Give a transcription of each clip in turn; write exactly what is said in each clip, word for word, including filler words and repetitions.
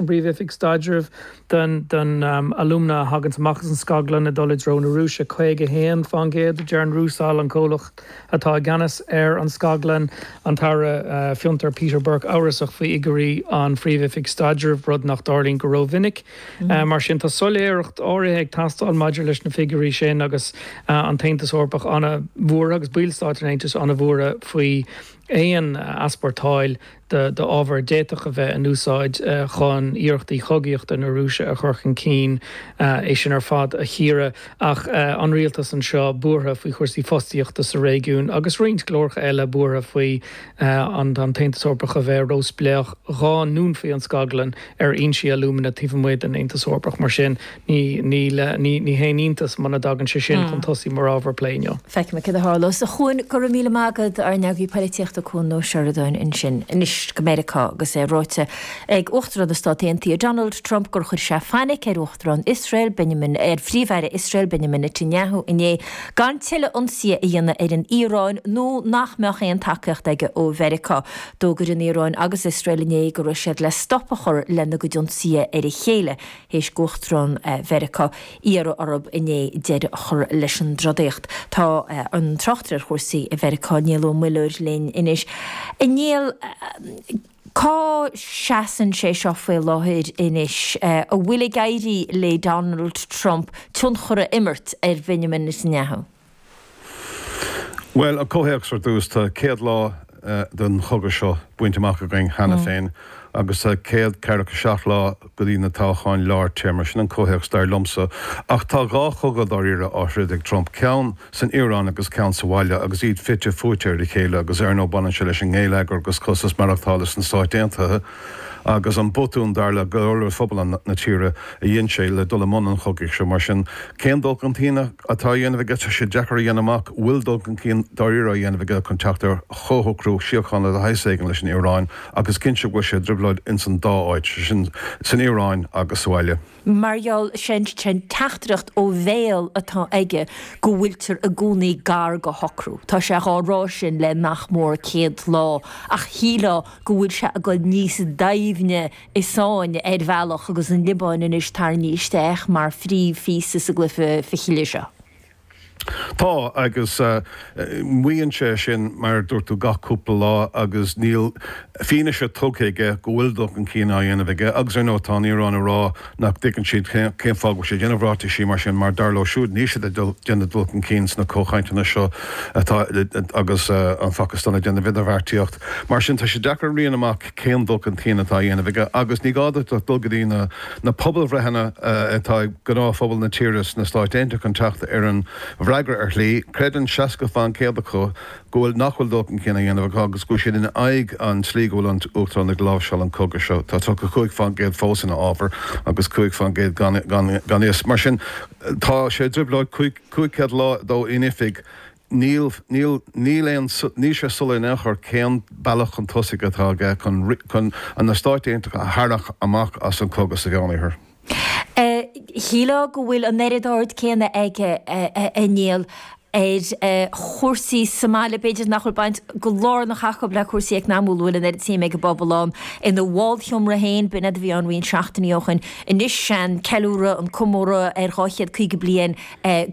an bPríomh-Oifig Staidrimh den den um, alúmna a thagann amach as an scaglann ag dul i dtreo na Rúise caoga haon faoin gcéad deir Rusal an comhlacht atá i gceannas ar an scaglann an tAire uh, Fiontar Peter Burke amhrasach faoi fhigiúirí an Phríomh-Oifig Staidrimh rud nach dtarlaíonn go rómhinic. Mm. Uh, mar sin tá soiléireacht áirithe ag teastáil maidir leis na figiúirí sin agus uh, an tAontas Eorpach an-bhuartha agus ballstáit an Aontais an-bhuartha faoi aon easpórtáil d'ábhar a d'fhéadfadh a bheith in úsáid uh, chun iarrachtaí chogaíochta na Rúise a chur chun cinn uh, é sin ar fad a chíoradh ach uh, an rialtas anseo buartha faoi chúrsaí fostaíochta sa réigiún agus roinnt glórtha eile buartha faoi an an tAontas Eorpach a bheith róspléach dhá ndúnfaí an scaglann ar fhoinsí alúmana taobh amuigh den Aontas Eorpach mar sin ní ní ní ní haon iontas muna dtagann sé sin chun tosaigh mar ábhar plé inniu. Feicfimid cad a tharlós a Chuain go raibh míle maith agat ár n-eagraí polaitíochta Cuan Ó Seireadáin ansin anois go Meiriceá agus é ráite ag Uachtarán na Stát Aontaithe Donald Trump gur chuir sé fainic ar Uachtarán Iosrael Benjamin ar Phríomh-Aire Iosrael Benjamin Netanyahu inné gan tuilleadh ionsaithe a dhéanamh ar an Iaráin nó nach mbeadh aon tacaíocht aige ó Mheiriceá. D'fhógair an Iaráin agus Iosrael inné go raibh siad le stop a chur lena gcuid ionsaithe ar a chéile théis d'Uachtarán eh, Mheiriceá iarraidh orthu inné deireadh a chur leis an dtrodaíocht. Tá eh, an tráchtaire ar chúrsaí i Mheiriceá Niall Ó Muilleoir linn anois. A Néill cá seasann sé seo faoi láthair anois an bhfuil ag éirí le Donald Trump tionchar a imirt ar Benjamin Netanyahu. Well, an comhthéacs ar dtús tá céad lá uh, den chogadh seo bainte amach againn cheana mm. féin agus tá céad ceathracha seacht lá go dtí na toghcháin lár téarma sin an comhthéacs dar liomsa ach tá dhá chogadh dáiríre á throid ag Trump ceann san Iaráin agus ceann sa bhaile agus iad fite fuaite ar a chéile agus ar ndóigh baineann sé leis an ngeilleagar agus costas maireachtála sna Stáit Aontaithe agus an botún dar le go phobal na tíre a dhein sé le dul i mbun an chogaidh seo mar sin cén dul chun cinn atá á dhéanamh aige sé deacair a dhéanamh amach bhfuil dul chun cinn dáiríre á dhéanamh aige chun teacht ar chomhshocrú síochána de shaghas éigin leis an Iaráin agus cinnte go bhfuil sé i dtrioblóid ins an dá áit sin san Iaráin agus sa bhaile. Mar gheall sin sin teachtaireacht ó bhéal atá aige go bhfuiltear i gcónaí gar go shocrú. Tá sé á rá sin le nach mór céad lá ach shílfeá go bhfuil sé ag dul níos doimhne i sáinn ar bhealach agus an Liobáin anois tarraingthe isteach mar phríomhphíosa sa gcluiche fichille seo. Tá agus uh, maíonn sé sin mar dúirt tú gach cúpla lá agus níl fianaise tugtha aige go bhfuil dul chun cinn á dhéanamh aige agus ar ndóigh tá an Iaráin ag rá nach dtuigeann siad cén fáth go bhfuil sé ag déanamh ráitisí mar sin mar dar leo siúd níl siad ag déanamh dul chun cinn sna comhchainteanna seo atá agus uh, an Phacastáin ag déanamh idirbheartaíocht. Mar sin tá sé deacair a rian amach cén dul chun cinn atá á dhéanamh aige agus ní gá duit dul go dtí na, na pobalbhreitheanna uh, atá ag gnáthphobal na tíre sna Stáit Aontaithe chun teacht ar an bhfreagra ar shlí, creideann seasca faoin gcéad acu go bhfuil nach bhfuil dul chun cinn á dhéanamh acu agus go bhfuil siad in aghaidh an tslí go bhfuil an Uachtarán ag láimhseáil an cogadh seo. Tá tríocha cúig faoin gcéad fós ina fhabhar agus cúig faoin gcéad gan, gan, gan fhios. Mar sin tá sé i dtrioblóid cúig chéad lá dó in oifig níl níl níl aon níl sé soiléir in aon chor cén bealach chun tosaigh atá aige chun chun an na Stáit Aontaithe a tharrac amach as an cogadh sa Mheánoirthear. Shílfeá go bhfuil an oiread aird céanna aige a Néill ar chúrsaí sa mbaile b'fhéidir nach bhfuil baint go lárnach acu le cúrsaí eacnamúla bhfuil an oiread suim ag an bpobal ann ina bhálsheomra féin b'in a bhí ann roinnt seachtainí ó shin anois an ceiliúradh an comóradh ar dhá chéad caoga bliain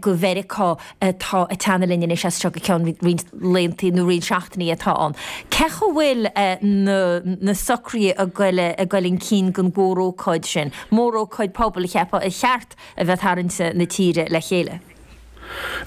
go Mheiriceá atá ag teannadh linn anois as seo go ceann roinnt laethanta nó roinnt seachtainí atá ann. Cé chaoi bhfuil na na socruithe ag goil ag goil chun cinn don mhórócáid sin, mórócáid pobail a cheapfá ar cheart a bheith ag tarraingt na tíre le chéile?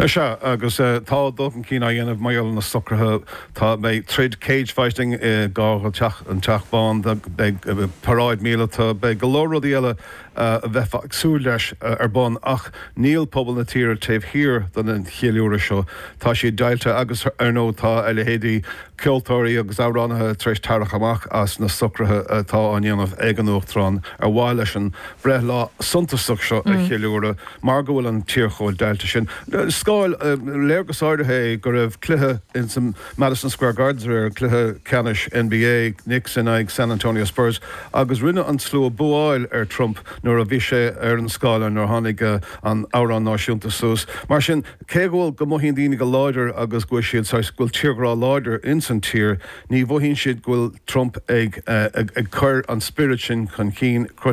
Sea, agus tá dul chun cinn á dhéanamh mar gheall ar na socruithe. Tá beidh troid cage fighting i gar do teach an Teach Bán, beidh paráid míleata, beidh go leor rudaí eile a bheifeá ag súil leis ar bun ach níl pobal na tíre taobh thiar den cheiliúradh seo. Tá siad deighilte agus ar ndóigh tá a leithéidí ceoltóirí agus amhránaithe tar éis tarrac amach as na socruithe atá á ndéanamh ag an Uachtarán ar mhaithe leis an breithlá suntasach seo a cheiliúradh mar go bhfuil an tír chomh deighilte sin. Scáil, léargas áirithe é go raibh cluiche ins an Madison Square Gardens aréir, cluiche ceannais NBA, Knicks in aghaidh San Antonio Spurs, agus rinne an slua búáil ar Trump nuair a bhí sé ar an scáileán nuair a tháinig an amhrán náisiúnta suas. Mar sin, cé go bhfuil go mothaíonn daoine go láidir agus go bhfuil siad saghas, go bhfuil tírghrá láidir ins ins an tír, ní mhothaíonn siad go bhfuil Trump ag ag cur an spiorad sin chun cinn.